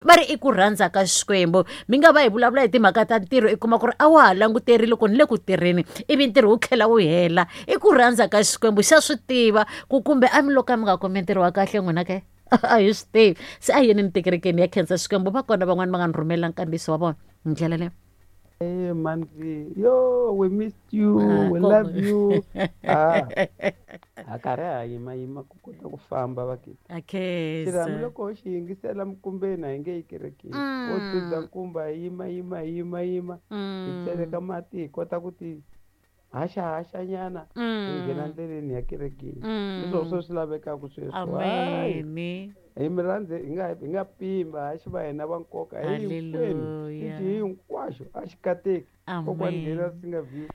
Va ri i ku rhandza ka Xikwembu. Mi nga va hi vulavula hi timhaka ta ntirho, i kuma ku ri a wa ha languterile ku ni le ku tirheni, ivi ntirho wu tlhela wu hela. I ku rhandza ka Xikwembu, xa swi tiva ku kumbe a mi lo ka mi nga kumi ntirho wa kahle n'wina ke? A hi swi tivi. Se a hi yeni tikerekeni ya khensa Xikwembu. Va kona van'wani va nga ni rhumela nkandziyiso wa vona hi ndlela leyi. Hey, Manvi, yo, we missed you, we love you. Ah, ha karhi ha yima yima ku kota ku famba vakiti. Xirhami loko ho xi yingisela minkumbeni a hi nge yi kerekeni. Wo dzudza nkumba hi yima yima hi yima yima hi tseleka mati hi kota ku ti haxa haxa nyana hi nghena ndleleni ya kerekeni. Hi swona swo swi lavekaka sweswo. Amen. Hi mi rhandze hi nga hi nga pimba ha xi va hina va nkoka hi hinkwenu Hallelujah. xi hinkwaxo a xi kateki. Kokwani nghena Amen. swi nga view.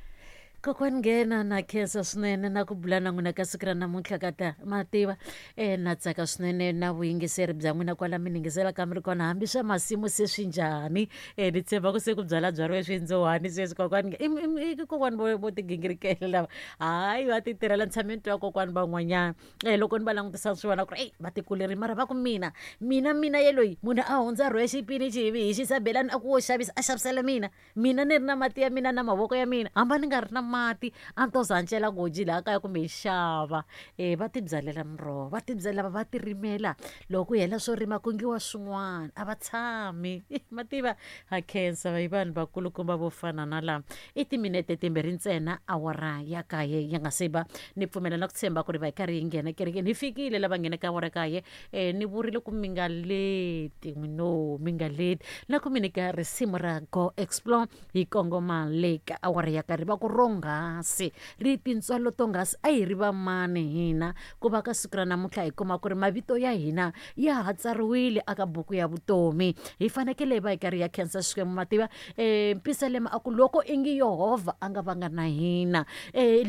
Kokwani nghena na khensa swinene na ku bula na n'wina ka siku ra namuntlha ka ta ma tiva na tsaka swinene na vuyingiseri bya n'wina kwala mi ni yingiselaka mi ri kona hambi swa masimu se swi njhani. Ni tshemba ku se ku byalabyariwe swindzhuwani sweswi kokwani i kokwani vo tigingirikela lava hayi va ti tirhela. Ni tshame ni twa kokwani van'wanyana loko ni va langutisa swi vona ku ri eyi va tikuleri mara va ku mina mina mina yeloyi munhu a hundza rhwexe xipinichi hi hi xisabelani a ku wo xavisa a xavisela mina mina ni ri na mati ya mina na mavoko ya mina hamba ni nga ri na mati a ni to za ni cela goji laha kaya kumbe hi xava. Va ti byalela miroho, va ti byala va ti rimela, loko ku hela swo rima ku ngiwa swin'wana a va tshami. Ma tiva ha khensa hi vanhu vakulukumba vo fana na lava. I timinete timbirhi ntsena awara ya kaye ya nga se ba. Ni pfumela na ku tshemba ku ri va hi karhi hi nghena kerekeni. Hi fikile lava ngheneke awara kaye. Ni vurile ku mi nga leti no mi nga leti na ku mi nyika risimu ra Go Explore hi kongoma le ka awara ya karhi va ku ronghasi ri tintswalo tonghasi a hi ri va mani hina ku va ka siku ra namuntlha hi kuma ku ri mavito ya hina ya ha tsariwile aka buku ya vutomi. Hi fanekele hi va hi karhi ya khensa Xikwembu. Ma tiva Mpisalema a ku loko ingi Yehovha a nga vanga na hina,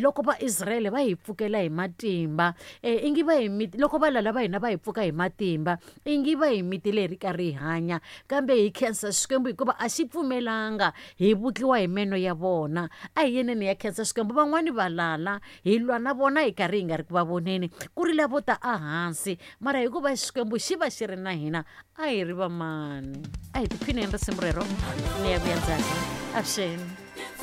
loko Vaisrayele va hi pfukela hi matimba, ingi va hi loko valala va hina va hi pfuka hi matimba, ingi va hi mitile hi ri karhi hi hanya. Kambe hi khensa Xikwembu hikuva a xi pfumelanga hi vutliwa hi meno ya vona. A hi yeneni ya khensa Xikwembu. Van'wani valala hi lwa na vona hi karhi hi nga ri ku va voneni, ku ri lavo ta ehansi, mara hikuva Xikwembu xi va xi ri na hina a hi ri vamani. A hi tiphineni risimu rero ni ya vuya ndzhaku. Avuxeni.